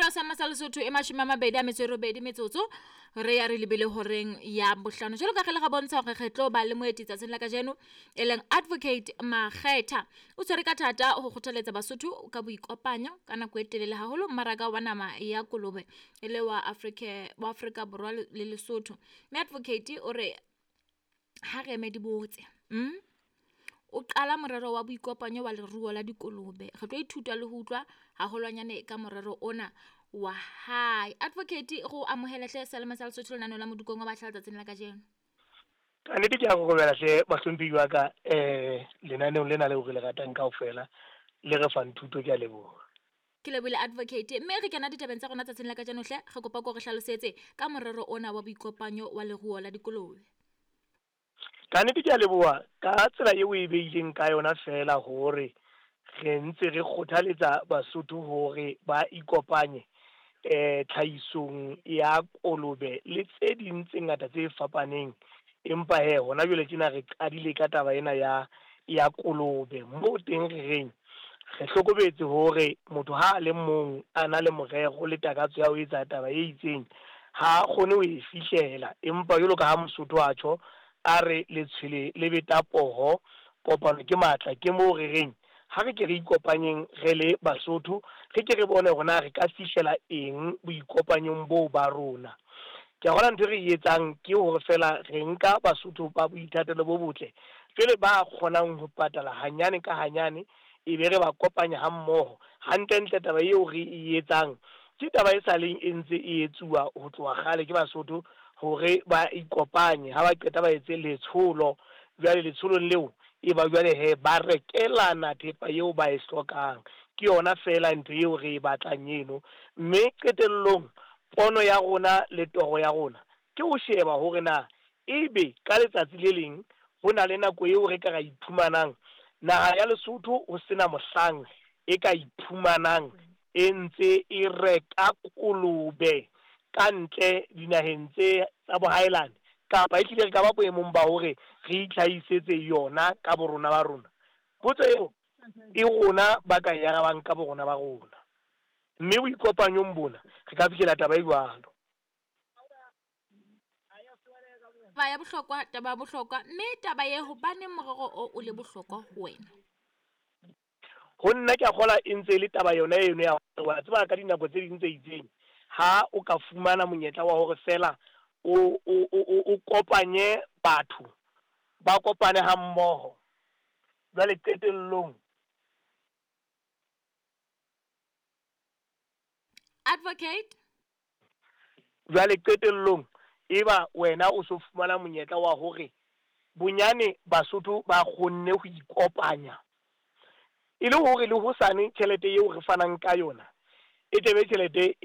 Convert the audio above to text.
Hora sa masa Lesotho e 28 metsotso re ya re lebile horeng ya bohlano. Jwalo ka re le ga bontsha hore re tlo ba le moeti tsatsing la kajeno e leng Advocate Makgetha. O tshwere ka thata ho kgothaletsa Basotho ka boikopanyo ka nako e telele haholo mmaraka wa nama ya kolobe e le wa Afrika Borwa le Lesotho. Mme Advocate o re ha re eme di botse. O qala morero wa boikopanyo wa leruo la dikolobe. Re tlo ithuta le ho utlwa haholwanyane ka morero ona wa hae. Advocate go amohele hle Selema sa Lesotho lenaneo la Modikong wa Batjha letsatsing la kajeno. Ka nnete ke a kokobela hle bahlomphehi wa ka lenaneong lena leo re le ratang kaofela le re fang thuto, ke a leboha. Ke lebohile Advocate. Mme re kena ditabeng tsa rona tsatsing la kajeno hle. Re kopa ko re hlalosetse ka morero ona wa boikopanyo wa leruo la dikolobe. Ka nnete ke a leboha ka tsela eo e beileng ka yona fela hore re ntse re kgothaletsa Basotho hore ba ikopanye tlhahisong ya kolobe le tse ding tse ngata tse fapaneng. Empa he hona jwale tjena re qadile ka taba ena ya kolobe moo teng re reng re hlokometse hore motho ha a le mong a na le morero le takatso ya ho etsa taba e itseng ha kgone ho e fihlela. Empa jwalo ka ha Mosotho a tjho a re letshwele le beta poho, kopano ke matla. Ke moo re reng ha re ke re ikopanyeng re le Basotho, re ke re bone hore na re ka fihlela eng boikopanyong boo ba rona. Ke a bona ntho e re e etsang ke hore fela re nka Basotho ba boithatelo bo botle jwale ba kgonang ho patala hanyane ka hanyane, e be re ba kopanya ha mmoho. Hantlentle taba eo re e etsang ke taba e sa leng e ntse e etsuwa ho tloha kgale ke Basotho hore ba ikopanye. Ha ba qeta ba etse letsholo, jwale letsholong leo e ba jwale he ba rekelana thepa eo ba e hlokang. Ke yona fela ntho eo re e batlang eno. Mme qetellong pono ya rona le toro ya rona ke ho sheba hore na ebe ka letsatsi le leng ho na le nako eo re ka ra iphumanang naha ya Lesotho ho sena mohlang e ka iphumanang e ntse e reka kolobe ka ntle dinaheng tse tsa bohaelane, kapa e hlile re ka ba boemong ba hore re itlhahisetse yona ka borona ba rona. Potso eo e rona ba ka e arabang ka borona ba rona. Mme boikopanyong bona re ka fihlela taba e jwalo. Taba ya bohlokwa, taba ya bohlokwa. Mme taba ye hobaneng morero o le bohlokwa ho wena? Ho nna ke a kgola e ntse e le taba yona eno ya hore wa tseba ka dinako tse ding tse itseng ha o ka fumana monyetla wa hore fela o kopanye batho ba kopane ha mmoho, jwale qetellong Advocate jwale qetellong eba wena o so fumana monyetla wa hore bonyane Basotho ba kgonne ho ikopanya e le hore le hosane tjhelete eo re fanang ka yona e tebe tjhelete